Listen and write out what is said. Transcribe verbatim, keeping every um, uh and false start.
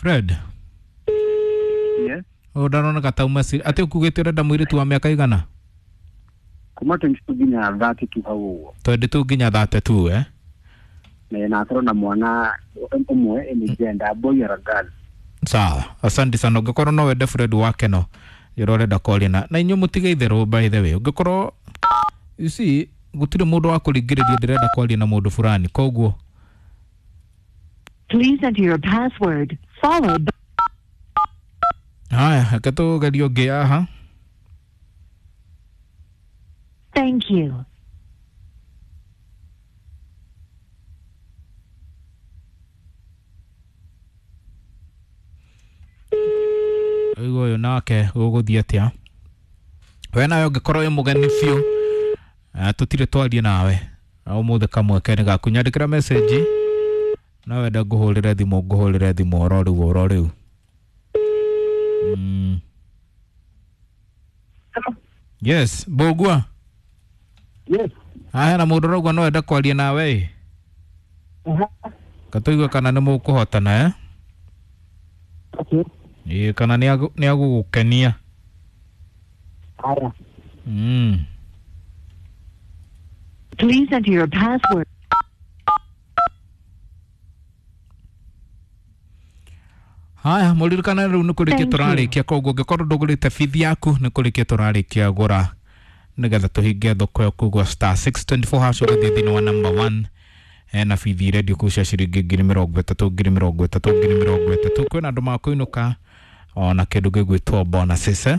Fred. Yes. Å ndaroneka tauma atä å kugä te å renda må irä tu wa mä aka igana? Kuma twenty-two nginya thirty-two hau ũguo. Twenty-two nginya thirty-two, eh? Na na akorwo na mwana ũmwe, any gender, boy or a girl. Sawa, asante sana. Ũngĩkorwo no wende Fred wake no yũrĩa ũrenda kwaria na na inyuĩ mũtige itherũ. By the way, ũngĩkorwo, you see, gũtirĩ mũndũ wa kũringĩrĩria ndĩrenda kwaria na mũndũ fulani, koguo Please enter your password, followed by haya, reke tũgerie ũngĩ haha. Thank you. Ũyũ ũyũ nake gũgũthiĩ atĩa? We nawe ũngĩkorwo wĩ mũgeni biũ, eh, tũtirĩ twarie nawe na ũmũthĩ kamweke nĩ gaku, nyandĩkĩra message no wenda ngũhũrĩre thimũ, ngũhũrĩre thimũ oro rĩu oro rĩu. mm. Yes, Mbũgua. Yes. Haya, na mũndũ ũrauga no wenda kwaria nawe ĩ. Aha. Katũigue kana nĩ mũkũhotana, eh? Okay. Ĩ, kana nĩ agũ- nĩ agũgũkenia. Haya. mm. Please enter your password. Haya, mũririkane rĩu nĩ kũrĩkia Thank you. tũrarĩkia, koguo ũngĩkorwo ndũgũrĩte bithi yaku, nĩ kũrĩkia tũrarĩkia gũra nĩgetha tũhinge thoko ĩyo. Koguo star six twenty-four hash, ũgathiĩ thĩinĩ wa number one, hena bithi irendio kũu cia ciringi ngiri mĩrongo ĩtatũ, ngiri mĩrongo ĩtatũ, ngiri mĩrongo ĩtatũ. Kwĩna andũ makũinũka ona kĩndũ gĩgwĩtwo bonuses, eh?